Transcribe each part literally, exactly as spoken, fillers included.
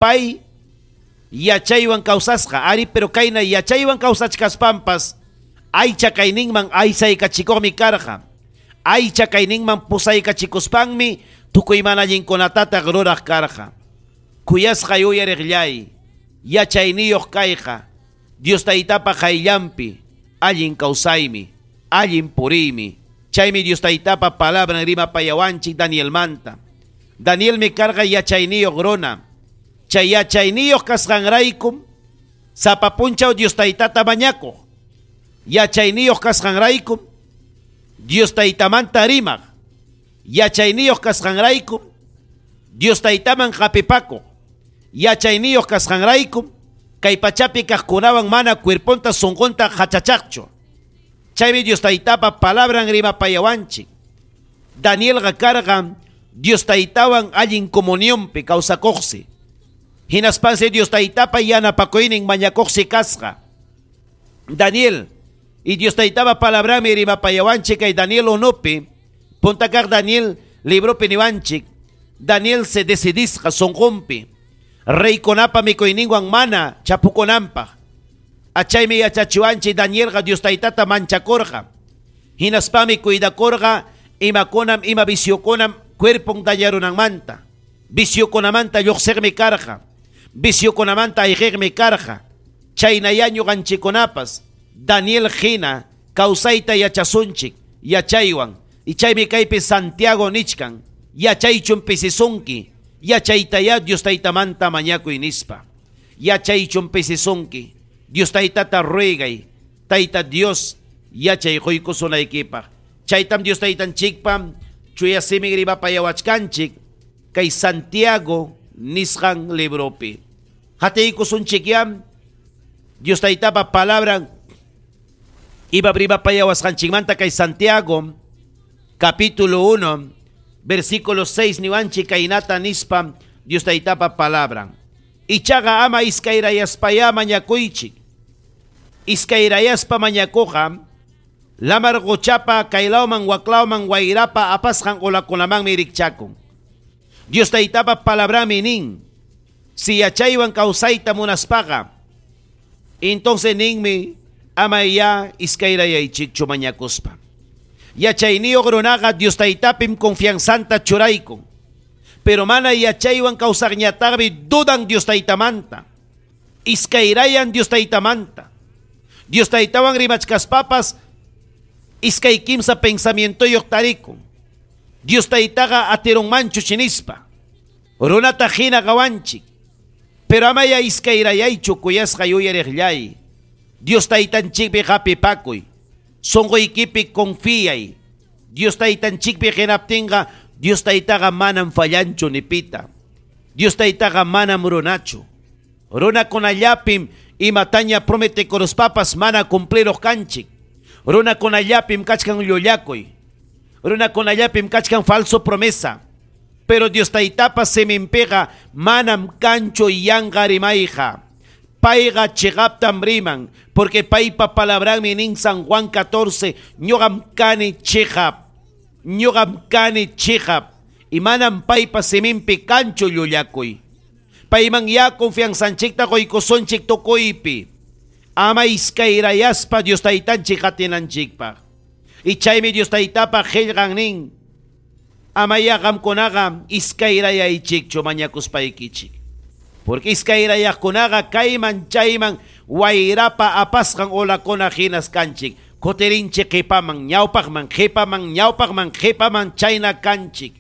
Pay yachaywan kawsasqa, ari, pero kayna yachaywan kawsachkaspampas aycha kayninman aysaykachikuqmi karqa. Aycha kayninman pusaykachikuspanmi tukuy mana allinkunatataq ruraq karqa. Kuyasqay uyariqllay, yachayniyuq kayqa Dios Taytapa qayllanpi allin kawsaymi, allin puriymi. Chaymi Dios Taytapa palabran rimapayawanchik Danielmanta. Danielmi karqa yachayniyuq runa. Chay yachayniyuq kasqanraykum sapa punchaw Dios Taytata mañakuq. Yachayniyuq kasqanraykum Dios Taytamanta rimaq. Yachayniyuq kasqanraykum Dios Taytaman hapipakuq. Yachayniyuq kasqanraykum kay pachapi kaqkunawan mana cuerponta sunqunta hachachaqchu. Chaymi Dios Taytapa palabran rimapayawanchik. Danielqa karqa Dios Taytawan allin comunionpi kawsakuqsi. Hinaspansi Dios Taytapa yanapakuynin mañakuqsi kasqa. Daniel y Dios Taytapa palabranmi rimapayawanchik kay Daniel unupi, punta kaq Daniel libropi niwanchik, Daniel se decidisqa sunqunpi reykunapa mikuyninwan mana chapukunanpaq. Achaymi yachachiwanchik Danielqa Dios Taytata manchakurqa. Hinaspami cuidakurqa imakunam ima viciokunam cuerpon dañarunanmanta. Viciokunamanta lluqsiqmi karqa. Viciokunamanta ayqiqmi karqa. Chaynayá ñuqanchikkunapas Daniel hina kawsayta yachasunchik yachaywan. Y chaymi kaypi Santiago nichkan, yachaychun pisisunki, yachaytayá Dios Taytamanta mañakuy nispa. Yachaychun pisisunki, Dios Taytata ruegay, Tayta Dios yachay quykusunaykipaq. Chaytam Dios Taytanchikpa chuya simin rimapayawachkanchik kay Santiago nisqan libropi. Hatiykusunchikyam Dios Taytapa palabran iba rimapayawasqanchikmanta kay Santiago capítulo uno versículo seis niwanchik kaynata nispa Dios Taytapa palabran. Ichaqa ama iskayrayaspayá mañakuychik. Iskayrayaspa mañakuqa lamar quchapa kaylawman waklawman wayrapa apasqan ulakunamanmi rikchakun. Dios Taytapa palabrami nin, si yachaywan kawsayta munaspaqa, entonces ninmi ama ya iskayrayaychikchu mañakuspa. Yachayniyuq runaqa Dios Taytapim confianzanta churaykun. Pero mana yachaywan kawsaqñataqmi dudan Dios Taytamanta. Iskayrayan Dios Taytamanta. Dios Taytawan rimachkaspapas iskay kimsa pensamientoyuq tarikun. Dios Taytaqa atirunmanchu chinispa. Runata hina qawanchik. Pero amaya iskayrayaychu kuyasqa yuyariqllay. Dios Taytanchikpi hapipakuy. Sunquykipi confiyay. Dios Taytanchikpi hinaptinqa Dios Taytaqa manam fallanchu nipita. Dios Taytaqa manam runachu. Runakunallapim imataña prometekuruspapas mana cumpliruq kanchik. Runakunallapim kachkan llullakuy. Runakunallapim kachkan falso promesa. Pero Dios Taytapa siminpiqa manam kanchu yanqa rimayqa. Payqa chiqaptam riman, porque paypa palabranmi nin San Juan catorce, ñuqam kani chiqap, ñuqam kani chiqap, y manam paypa siminpi kanchu llullakuy. Payman ya confianzanchikta quykusunchik tukuypi. Ama iskayrayaspa Dios Taytanchik qatinanchikpaq. Y chaymi Dios Taytapa qillqan nin, ama ya qamkunaqa iskayrayaychikchu mañakuspaykichik. Porque iskayrayaqkunaqa kayman chayman wayrapa apasqan olakuna hinas kanchik. Kutirinchik qipaman, ñawpaqman, qipaman, ñawpaqman, qipaman chayna kanchik.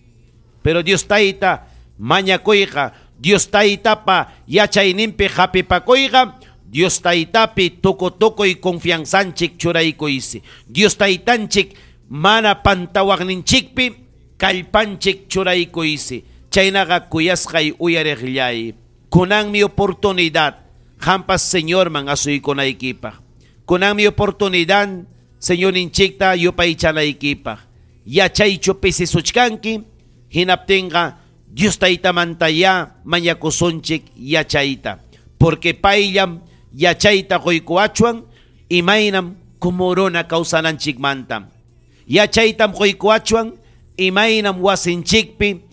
Pero Dios Tayta mañakuyqa, Dios Taytapa yachayninpi hapipakuyqa, Dios Taytapi tuku tukuy confianzanchik churaykuysi. Dios Taytanchik mana pantawaqninchikpi kallpanchik churaykuysi. Chaynaqa kuyasqay uyariqllay. Kunanmi oportunidad hampas Señorman asuykunaykipaq. Kunanmi oportunidad Señorninchikta yupaychanaykipaq. Yachaychu pisisuchkanki, hinaptinqa Dios Taytamantayá mañakusunchik yachayta. Porque payllam yachayta quykuachwan imaynam kumuruna kawsananchikmanta. Yachaytam quykuachwan imaynam wasinchikpi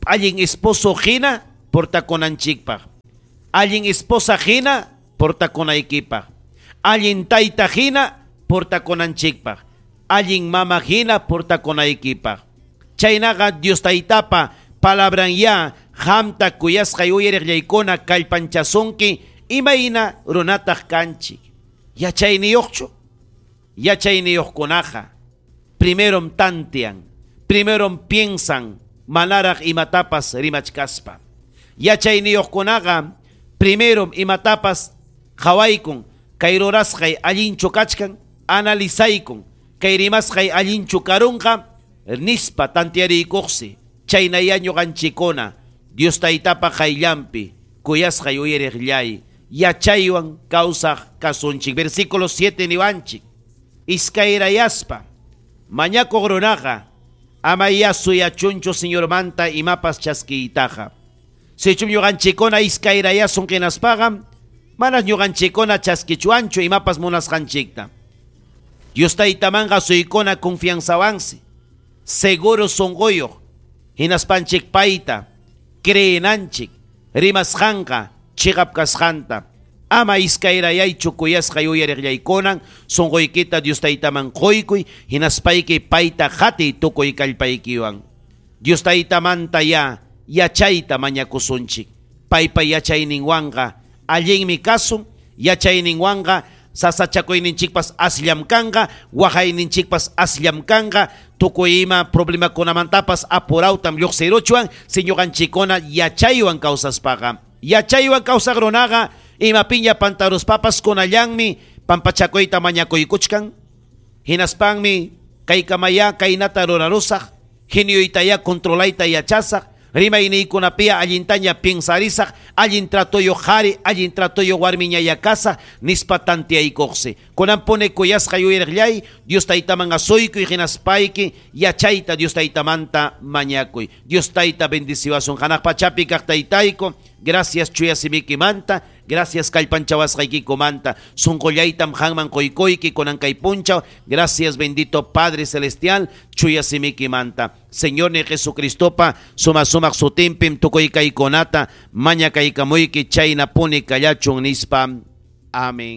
allin esposo hina portakunanchikpaq. Allin esposa hina portakunaykipaq. Allin tayta hina portakunanchikpaq. Allin mama hina portakunaykipaq. Chaynaqa Dios taytapa palabran ya qamta kuyasqay uyariqllaykuna kallpanchasunki imayna runataq kanchik. Yachayniyuqchu? Yachayniyuqkunaqa primerom tantean, primerom piensan manaraq imatapas rimachkaspa. Yachayniyuqkunaqa primerom imatapas qawaykun, kay rurasqay allinchu kachkan, analizaykun, kay rimasqay allinchu karunqa, nispa tanteariykuqsi. Chaynaya ñuqanchikuna Dios taytapa qayllanpi kuyasqay uyariqllay yachaywan kawsaq kasunchik. Versículo siete niwanchik. Iskayrayaspa mañakuq runaqa ama suyachunchu Señormanta imapas chaskiytaqa. Sichum ñuqanchikuna iskayrayasun qinaspaqa manas ñuqanchikuna chaskichuanchu imapas munasqanchikta. Dios taytamanqa suykuna confianzawansi, seguro sunquyuq, hinaspanchik payta creenanchik, rimasqanqa chiqap kasqanta. Ama iskayrayaychu kuyasqay uyariqllaykunan, sunquykita Dios taytaman quykuy, hinaspayki payta qatiy tukuy kallpaykiwan. Dios taytamanta ya yachayta mañakusunchik. Paypa yachayninwanqa allinmi kasun, yachayninwanqa sasachakuyninchikpas asllam kanqa, waqayninchikpas asllam kanqa, tukuy ima problemakunamantapas apurawtam lluqsiruchwan, si ñuqanchikuna yachaywan kawsaspaqa. Yachaywan kawsaq runaqa imapiña pantaruspapas kunallanmi pampachakuyta mañakuykuchkan, hinaspanmi kaykamaya kaynata rurarusaq, genioytaya controlayta yachasaq, rimayniykunapia allintaña piensarisaq, allin tratoyo qhari, allin tratoyo warmiñaya kasaq, nispa tanteaykuqsi. Kunanpuni kuyasqa yuyariqllay, Dios taytaman asuykuy, hinaspayki yachayta Dios taytamanta mañakuy. Dios tayta bendiciwasun. Hanaq pachapi kaq taytayku, gracias chuya simikimanta, gracias kallpanchawasqaykikumanta, sunqullaytam qanman quykuyki kunan kay punchaw, gracias bendito Padre Celestial, chuya simikimanta. Señor ni Jesucristopa suma sumaq sutinpim tukuy kaykunata mañakaykamuyki chayna puni kallachun nispa. Amén.